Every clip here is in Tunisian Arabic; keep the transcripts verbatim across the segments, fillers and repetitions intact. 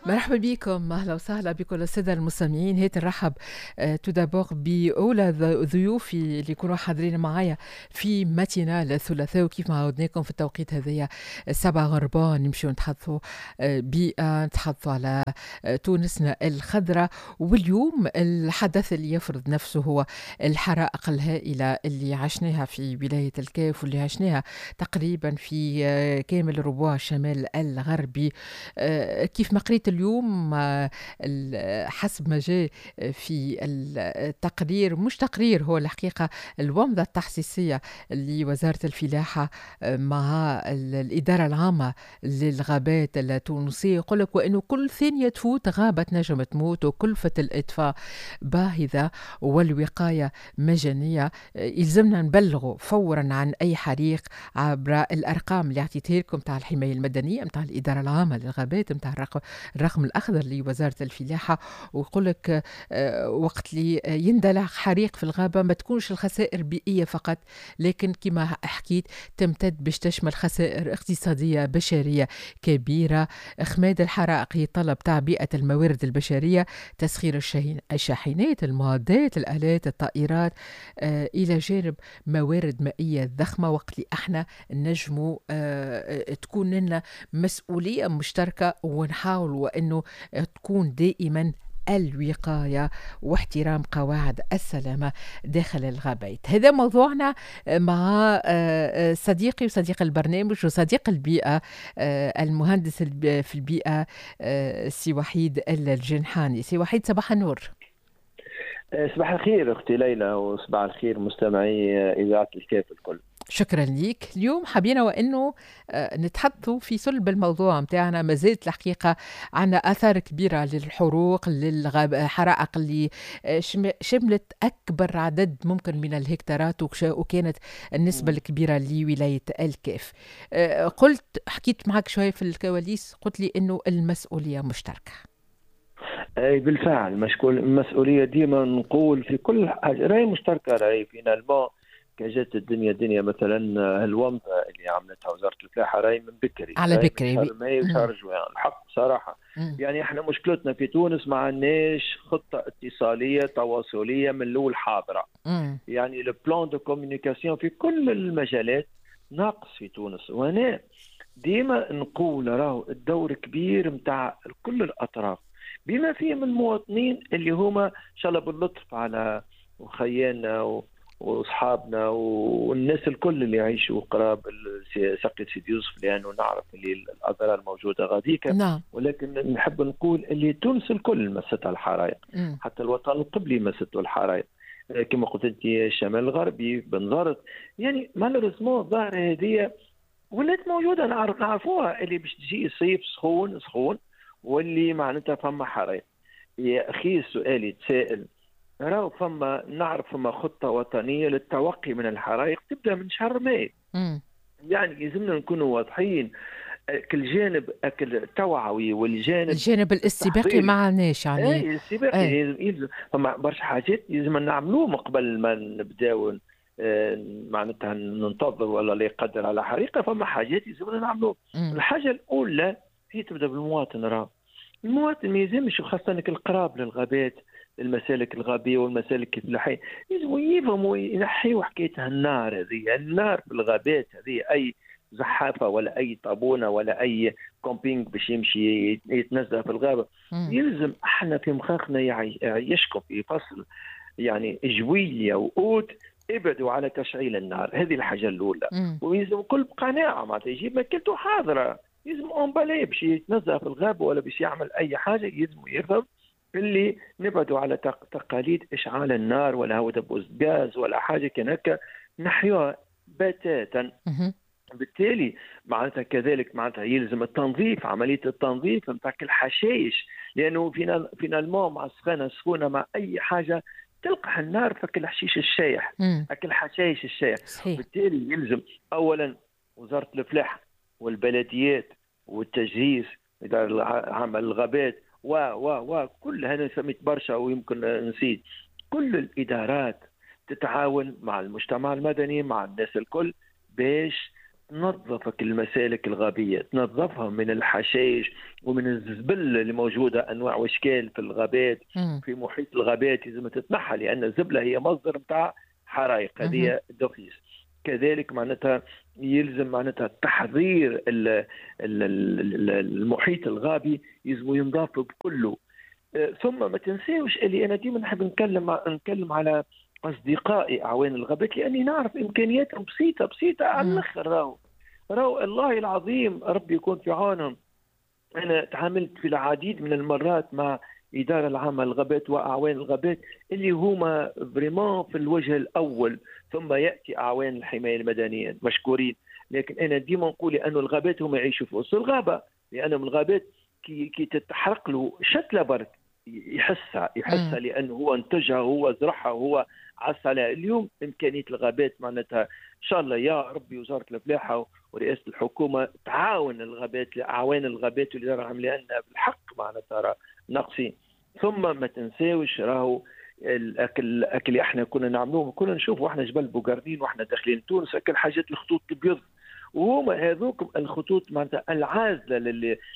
مرحبا بكم، اهلا وسهلا بكل السادة المستمعين. هيت نرحب tout d'abord باولى ضيوفي اللي يكونوا حاضرين معايا في matinale الثلاثاء، وكيف ما عودناكم في التوقيت هذايا سبعة غربا نمشيو نتحدثوا آه، بيئه، نتحدثوا على آه، تونسنا الخضراء. واليوم الحدث اللي يفرض نفسه هو الحرائق الهائلة اللي عشناها في ولاية الكاف واللي عشناها تقريبا في آه، كامل ربوع الشمال الغربي. كيف ما قريت اليوم آه، حسب ما جاء في التقرير، مش تقرير، هو الحقيقة الومضة التحسيسية لوزارة الفلاحة آه، مع الإدارة العامة للغابات التونسية، يقول لك وأنه كل ثانية تفوت غابة تنجم تموت، وكلفة الإطفاء باهظة والوقاية مجانية. آه، يلزمنا نبلغوا فورا عن أي حريق عبر الأرقام اللي أعطيتها لكم تاع الحماية المدنية، نتاع الإدارة العامة للغابات، نتاع الرقم الرقم الأخضر لوزارة الفلاحة. ويقول لك آه، وقت اللي يندلع حريق في الغابة ما تكونش الخسائر بيئية فقط، لكن كما حكيت تمتد باش تشمل خسائر اقتصادية بشرية كبيرة. إخماد الحرائق يتطلب تعبئة الموارد البشرية، تسخير الشاحنات، المعدات، الآلات، الطائرات، آه، إلى جانب موارد مائية ضخمة. وقت اللي احنا نجموا آه، تكون لنا مسؤولية مشتركة ونحاول وأنه تكون دائما الوقاية واحترام قواعد السلامة داخل الغابات. هذا موضوعنا مع آه، آه، صديقي وصديق البرنامج وصديق البيئة، آه، المهندس في البيئة سي وحيد الجنحاني. سي وحيد، صباح النور. صباح الخير اختي ليلى، وصباح الخير مستمعي اذاعة الكاف الكل. شكرا ليك. اليوم حبينا وانه آه، نتحدثوا في صلب الموضوع متاعنا. ما زالت الحقيقة عندنا اثار كبيرة للحروق، للحرائق اللي آه، شملت اكبر عدد ممكن من الهكتارات، وكانت النسبة الكبيرة لولاية الكاف. آه، قلت حكيت معك شوية في الكواليس، قلت لي انه المسؤولية مشتركه. اي بالفعل، مشكول المسؤوليه، ديما نقول في كل حاجة راهي مشتركه. راهي finalement كجات الدنيا دنيا، مثلا الومضه اللي عملتها وزارة الفلاحة راهي من بكري. على بكري. شهر ماي وشهر جوان. الحق بصراحه، يعني احنا مشكلتنا في تونس ما عندناش خطه اتصاليه تواصليه من الاول حاضره. مم. يعني le plan de communication في كل المجالات ناقص في تونس. وهنا ديما نقول راهو الدور كبير نتاع كل الاطراف بما فيهم المواطنين اللي هما ان شاء الله باللطف على وخياننا و واصحابنا والناس الكل اللي يعيشوا قراب ساقية سيدي يوسف، لانه نعرف اللي الاضرار موجودة غاديك. نعم. ولكن نحب نقول اللي تونس الكل مستها الحرائق، حتى الوطن القبلي مسته الحرائق، كما قلت انت الشمال الغربي، بنزرت. يعني malheureusement الظاهرة هذه ولات موجوده، نعرف نعرفوها اللي باش تجي صيف سخون سخون واللي معناتها فما حرائق. يا اخي السؤال يتساءل، راهو فما نعرف فما خطة وطنية للتوقي من الحرائق تبدأ من شهر ماي. يعني يلزمنا نكونوا واضحين، كل جانب التوعوي والجانب الجانب الاستباقي ما عندناش يعني. اي الاستباقي يلزم، فما برشا حاجات لازم نعملوهم قبل ما نبداو آه، معناتها ننتظر ولا لا يقدر على حريقه. فما حاجات لازمنا نعملوهم. الحاجة الاولى هي تبدا بالمواطن. راه المواطن ما يلزمش، خاصة القراب للغابات، المسالك الغابيه والمسالك الفلاحيه، لازم يفهموا ينحيوا حكاية النار هذه، النار في الغابات هذه. اي زحافة ولا اي طابونه ولا اي camping باش يمشي يتنزه في الغابه، مم. يلزم احنا في مخاخنا يعيشكم في فصل يعني جويليا واوت ابعدوا على تشعيل النار. هذه الحاجة الاولى. ويلزم كل بقناعه، معناتها يجيب ماكلته حاضره، يلزم emballée باش يتنزه في الغابة ولا باش يعمل اي حاجه، يلزم يفهم اللي نبعدوا على تقاليد اشعال النار ولا هو دبوس غاز ولا حاجة كان هكا، نحيوها بتاتا. بالتالي معناتها كذلك معناتها يلزم التنظيف، عملية التنظيف نتاع الحشائش، لانه finalement مع السخانه السخونه مع اي حاجة تلقح النار فك الحشيش الشايح، هاك الحشائش الشايح. صحيح. بالتالي يلزم اولا وزارة الفلاحة والبلديات والتجهيز، ادارة العامة للغابات و و و كل هذا سميت برشا ويمكن نسيت، كل الادارات تتعاون مع المجتمع المدني مع الناس الكل باش تنظفك المسالك الغابية، تنظفها من الحشائش ومن الزبل اللي موجودة أنواع وأشكال في الغابات. مم. في محيط الغابات لازم تتنحى، لأن الزبلة هي مصدر متاع حرائق، هذه d'office. كذلك معناتها يلزم معناتها تحضير المحيط الغابي، يلزم ينضاف بكله. ثم ما تنساوش اللي أنا ديما نحب نتكلم نتكلم على أصدقائي أعوان الغابات، لأني نعرف إمكانياتهم بسيطة بسيطة على الآخر. راهو راهو الله العظيم ربي يكون في عونهم. أنا تعاملت في العديد من المرات مع إدارة العامة للغابات وأعوان الغابات اللي هما vraiment في الوجه الأول، ثم يأتي أعوان الحماية المدنية مشكورين. لكن أنا ديما نقول أنه الغابات هم يعيشوا في وسط الغابة، لأنهم الغابات كي, كي تتحرق له شتلة برك يحسها يحسها لأنه هو انتجها، هو زرعها، هو عصى عليها. اليوم إمكانية الغابات معناتها إن شاء الله يا ربي وزارة الفلاحة ورئاسة الحكومة تعاون الغابات، أعوان الغابات والإدارة العامة، لأن بالحق معناتها ناقصين. ثم ما تنساوش راهو الأكل، الأكل اللي احنا كنا نعملوه، كنا نشوفوا احنا جبل بوغارنين واحنا داخلين تونس أكل حاجات الخطوط البيض، وهما هذوك الخطوط معناتها العازله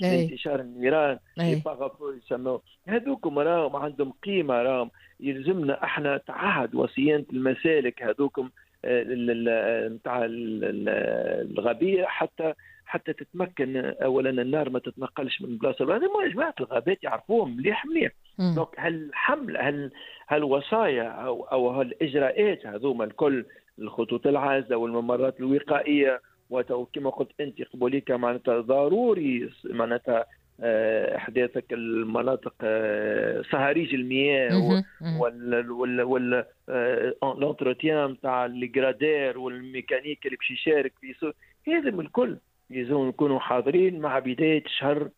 لانتشار النيران، les pare-feu يسموه، هذوكم راهم عندهم قيمة، راهم يلزمنا احنا تعهد وصيانة المسالك هذوكم نتاع الغابيه حتى حتى تتمكن اولا النار ما تتنقلش من بلاصة لبلاصه. هذا جماعة الغابات يعرفوهم مليح مليح. donc هالحمل هال هالوصايا او او هالاجراءات هذوما الكل، الخطوط العازله والممرات الوقائية، وكما قلت انت قبوليك معناتها ضروري معناتها احداثك المناطق صهاريج المياه وال وال وال l'entretien تاع les gradeurs والميكانيك اللي باش يشارك في هذا من الكل لازم نكونوا حاضرين مع بداية شهر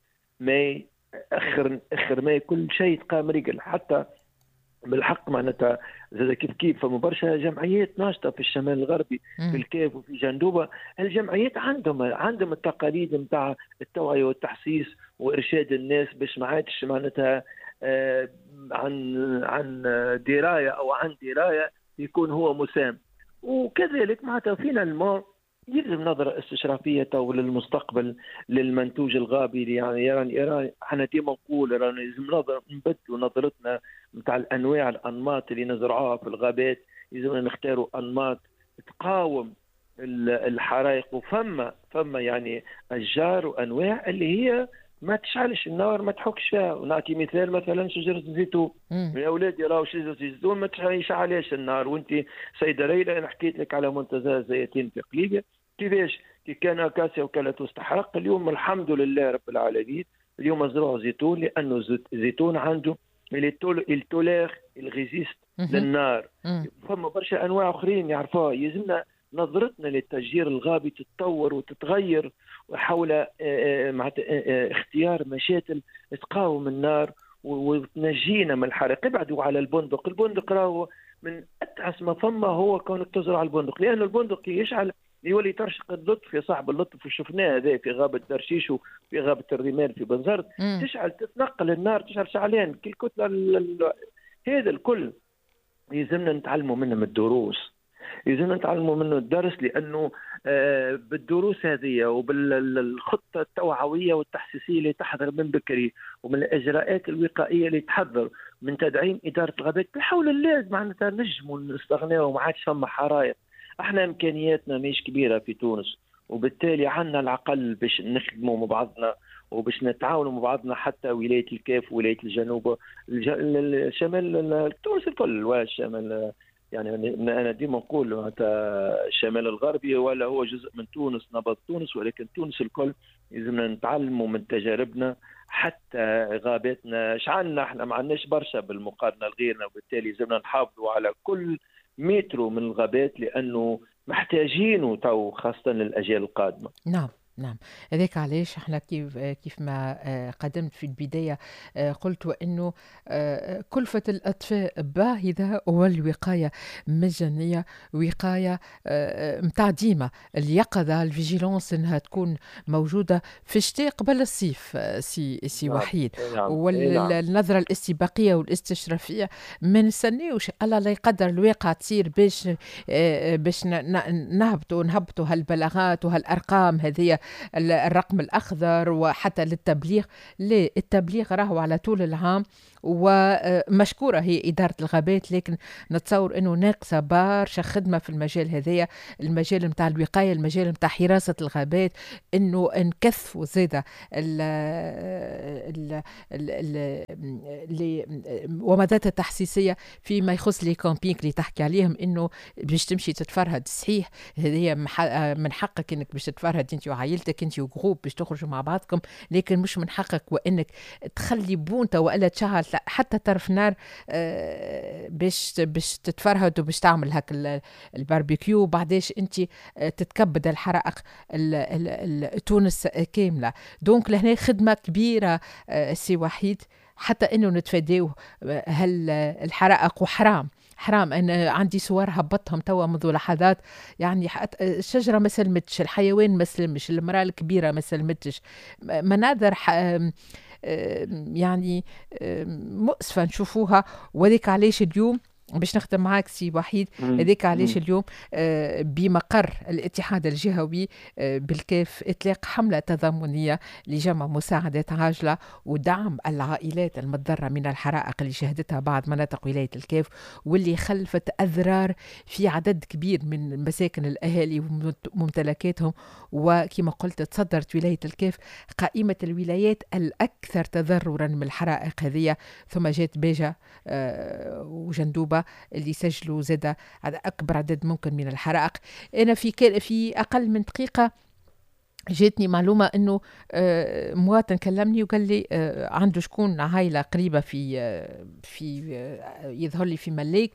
ماي، اخر اخر ماي كل شيء تقام رجل. حتى بالحق معناتها زاد كيف كيف فما برشا جمعيات ناشطة في الشمال الغربي، في الكاف وفي جندوبه. الجمعيات عندهم عندهم التقاليد نتاع التوعية والتحسيس وارشاد الناس باش ما عادش معناتها آه عن عن دراية او عن دراية يكون هو مسام. وكذلك معناتها finalement يلزم نظرة استشرافية تو للمستقبل للمنتوج الغابي. يعني يعني احنا ديما نقول رانا لازم نظرة نبدلوا نظرتنا نتاع الانواع الانماط اللي نزرعوها في الغابات، لازمنا نختاروا انماط تقاوم الحرائق. وفما فما يعني اشجار وانواع اللي هي ما تشعلش النار، ما تحكش فيها. ونعطي مثال مثلا شجرة الزيتون، يا اولادي راهو شجرة الزيتون ما تشعلش النار. وانت سيده ليلى انا حكيت لك على منتزه الزيتون في قليبيا كيفاش كي كان acacia وكالتوس تحرق. اليوم الحمد لله رب العالمين اليوم زرعوا زيتون، لانه الزيتون عنده il tolère il résiste للنار. فما برشا انواع اخرين يعرفوها. يلزمنا نظرتنا للتشجير الغابي تتطور وتتغير حول مع اختيار مشاتل تقاوم النار وتنجينا من الحريق. ابعدوا على البندق، البندق راهو من اتعس ما فما هو كونك تزرع البندق، لأن البندق يشعل يولي ترشق اللطف يا صاحب اللطف، وشفناه هذا في غابة درشيش وفي غابة الرمال في بنزرت. تشعل تتنقل النار، تشعل شعلان كل كتلة. هذا الكل يلزمنا نتعلموا منهم الدروس، يلزمنا نتعلموا منه الدرس، لأنه بالدروس هذه وبالخطة التوعوية والتحسيسية اللي تحضر من بكري، ومن الإجراءات الوقائية اللي تحضر من تدعيم إدارة الغابات، بحول الله معناتها نجموا نستغناو وما عادش فما حرائق. احنا إمكانياتنا مش كبيرة في تونس، وبالتالي عندنا العقل باش نخدموا مع بعضنا وباش نتعاونوا مع بعضنا، حتى ولاية الكاف ولاية الجنوب الشمال تونس الكل والشمال. يعني أنا ديما نقول الشمال الغربي ولا هو جزء من تونس، نبض تونس، ولكن تونس الكل لازمنا نتعلموا من تجاربنا. حتى غاباتنا شعلنا احنا ما عندناش برشا بالمقارنة لغيرنا، وبالتالي لازمنا نحافظوا على كل مترو من الغابات لأنه محتاجينه تو خاصة للأجيال القادمة. نعم. نعم، هذاك علاش احنا كيف كيف ما قدمت في البداية قلت وانه كلفة الأطفاء باهظة والوقاية مجانية، وقاية متاع ديما اليقظة ال vigilance انها تكون موجودة في الشتاء قبل الصيف سي سي نعم. وحيد. نعم. والنظرة الاستباقية والاستشرافية ما نستناوش الله لا يقدر الواقع تصير باش باش نهبطوا نهبطوا هالبلاغات وهالأرقام هذه، الرقم الأخضر وحتى للتبليغ. لا، التبليغ راهو على طول العام، ومشكورة هي إدارة الغابات، لكن نتصور أنه ناقصة برشا خدمة في المجال هذايا، المجال متاع الوقاية، المجال متاع حراسة الغابات، أنه نكثفوا زادة ال ال ال ومدات التحسيسية فيما يخص les campings اللي تحكي عليهم، أنه باش تمشي تتفرهد. صحيح هذه من حقك أنك باش تتفرهد أنت وعائلتك، أنت و groupe باش تخرجوا مع بعضكم، لكن مش من حقك وأنك تخلي بونتا وإلا تشعل حتى طرف نار باش باش تتفرهد وباش تعمل هاك الباربيكيو، بعداش انت تتكبد الحرائق تونس كاملة. donc لهنا خدمة كبيرة سي وحيد حتى انه نتفاداو هل الحرائق. وحرام حرام انا عندي صور هبطهم توا منذ لحظات، يعني الشجرة ما سلمتش، الحيوان ما سلمش، المراة الكبيرة ما سلمتش، مناظر يعني مؤسفة نشوفوها. وذيك علاش اليوم باش نخدم معاك سي وحيد، هذيك علاش اليوم بمقر الاتحاد الجهوي بالكاف اطلاق حمله تضامنيه لجمع مساعدات عاجله ودعم العائلات المتضررة من الحرائق اللي شهدتها بعض مناطق ولاية الكاف، واللي خلفت اضرار في عدد كبير من مساكن الاهالي وممتلكاتهم. وكما قلت تصدرت ولاية الكاف قائمة الولايات الاكثر تضررا من الحرائق هذه، ثم جات باجه وجندوبه اللي سجلوا زاد أكبر عدد ممكن من الحرائق. أنا في في أقل من دقيقة جاتني معلومة أنه مواطن كلمني وقال لي عنده شكون عائلة قريبة في في يظهر لي في ملاك،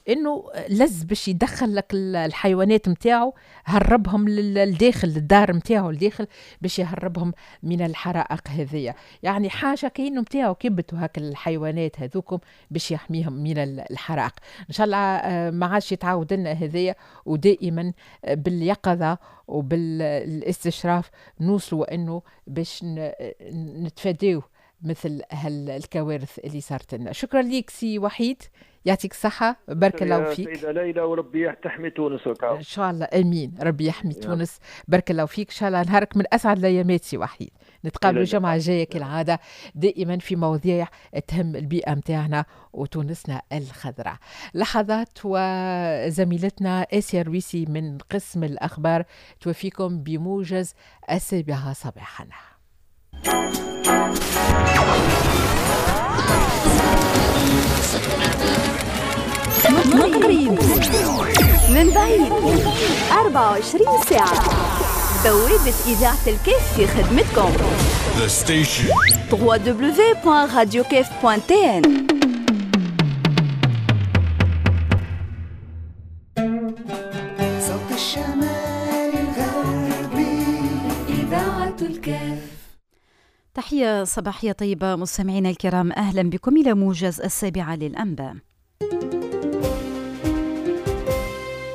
أنه لز باش يدخل لك الحيوانات متاعه، هربهم للداخل للدار متاعه الداخل باش يهربهم من الحرائق هذية. يعني حاجة كأنه متاعه كبتوا هاك الحيوانات هذوكم باش يحميهم من الحرائق. إن شاء الله ما عادش يتعود لنا هذية، ودائما باليقظة وبالاستشراف نوصلوا انه باش نتفاداو مثل هالكوارث اللي صارت لنا. شكرا ليك سي وحيد، يعطيك الصحة، بارك الله فيك سيدة ليلى، وربي تحمي تونس وكاو. إن شاء الله، آمين، ربي يحمي تونس، بارك الله فيك. إن شاء الله نهارك من أسعد الأيامات سي وحيد. نتقابلوا الجمعة الجاية كالعادة دائما في مواضيع تهم البيئة متاعنا وتونسنا الخضراء. لحظات وزميلتنا آسيا رويسي من قسم الأخبار توفيكم بموجز السابعة صباحا. من قريب من بعيد أربعة وعشرين ساعة، بوابة إذاعة الكاف في خدمتكم. The station دبليو دبليو دبليو دوت راديو كاف دوت تي إن. صوت الشمال الغربي إذاعة الكاف. تحية صباحية طيبة مستمعينا الكرام، أهلا بكم إلى موجز السابعة للأنباء.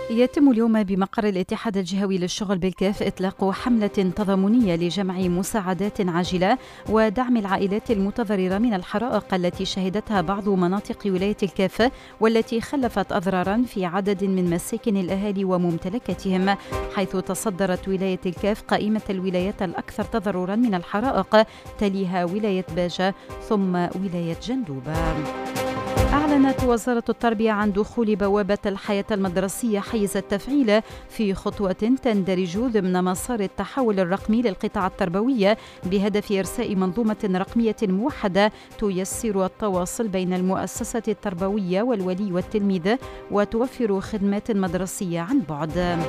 يتم اليوم بمقر الاتحاد الجهوي للشغل بالكاف إطلاق حملة تضامنية لجمع مساعدات عاجلة ودعم العائلات المتضررة من الحرائق التي شهدتها بعض مناطق ولاية الكاف، والتي خلفت أضرارا في عدد من مساكن الأهالي وممتلكاتهم، حيث تصدرت ولاية الكاف قائمة الولايات الأكثر تضررا من الحرائق، تليها ولاية باجة ثم ولاية جندوبة. أعلنت وزارة التربية عن دخول بوابة الحياة المدرسية حيز التفعيل في خطوة تندرج ضمن مسار التحول الرقمي للقطاع التربوي، بهدف إرساء منظومة رقمية موحدة تيسر التواصل بين المؤسسة التربوية والولي والتلميذ، وتوفر خدمات مدرسية عن بعد.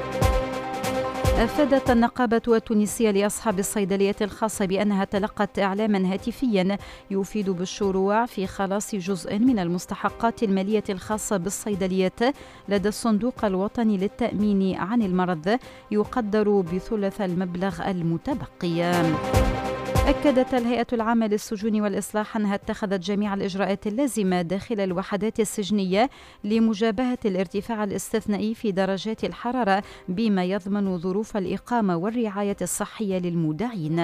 أفادت النقابة التونسية لأصحاب الصيدليات الخاصة بأنها تلقت إعلاما هاتفيا يفيد بالشروع في خلاص جزء من المستحقات المالية الخاصة بالصيدليات لدى الصندوق الوطني للتأمين عن المرض يقدر بثلث المبلغ المتبقي. أكدت الهيئة العامة للسجون والإصلاح أنها اتخذت جميع الإجراءات اللازمة داخل الوحدات السجنية لمجابهة الارتفاع الاستثنائي في درجات الحرارة بما يضمن ظروف الإقامة والرعاية الصحية للمودعين.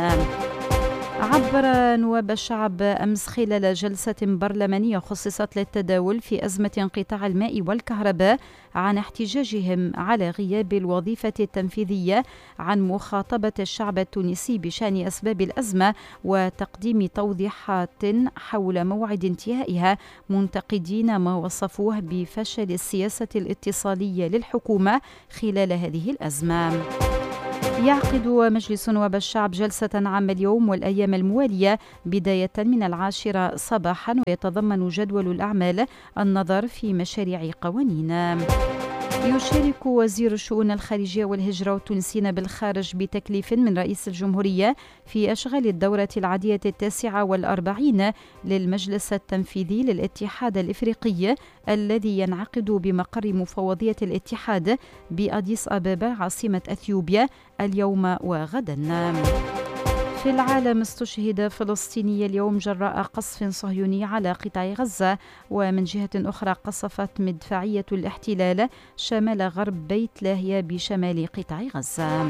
عبر نواب الشعب أمس خلال جلسة برلمانية خصصت للتداول في أزمة انقطاع الماء والكهرباء عن احتجاجهم على غياب الوظيفة التنفيذية عن مخاطبة الشعب التونسي بشأن أسباب الأزمة وتقديم توضيحات حول موعد انتهائها، منتقدين ما وصفوه بفشل السياسة الاتصالية للحكومة خلال هذه الأزمة. يعقد مجلس نواب الشعب جلسة عامة اليوم والأيام الموالية بداية من العاشرة صباحا، ويتضمن جدول الأعمال النظر في مشاريع قوانين. يشارك وزير الشؤون الخارجية والهجرة والتونسيين بالخارج بتكليف من رئيس الجمهورية في أشغال الدورة العادية التاسعة والأربعين للمجلس التنفيذي للاتحاد الإفريقي الذي ينعقد بمقر مفوضية الاتحاد بأديس أبابا عاصمة أثيوبيا اليوم وغدا. في العالم استشهد فلسطيني اليوم جراء قصف صهيوني على قطاع غزة، ومن جهة أخرى قصفت مدفعية الاحتلال شمال غرب بيت لاهيا بشمال قطاع غزة.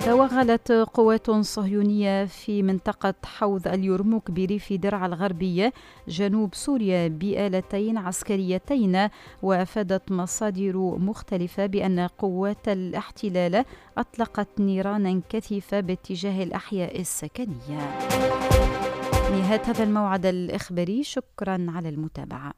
توغلت قوات صهيونية في منطقة حوض اليرموك بريف درعا الغربي جنوب سوريا بآلتين عسكريتين، وأفادت مصادر مختلفة بأن قوات الاحتلال أطلقت نيرانا كثيفة باتجاه الأحياء السكنية. نهاية هذا الموعد الإخباري، شكرا على المتابعة.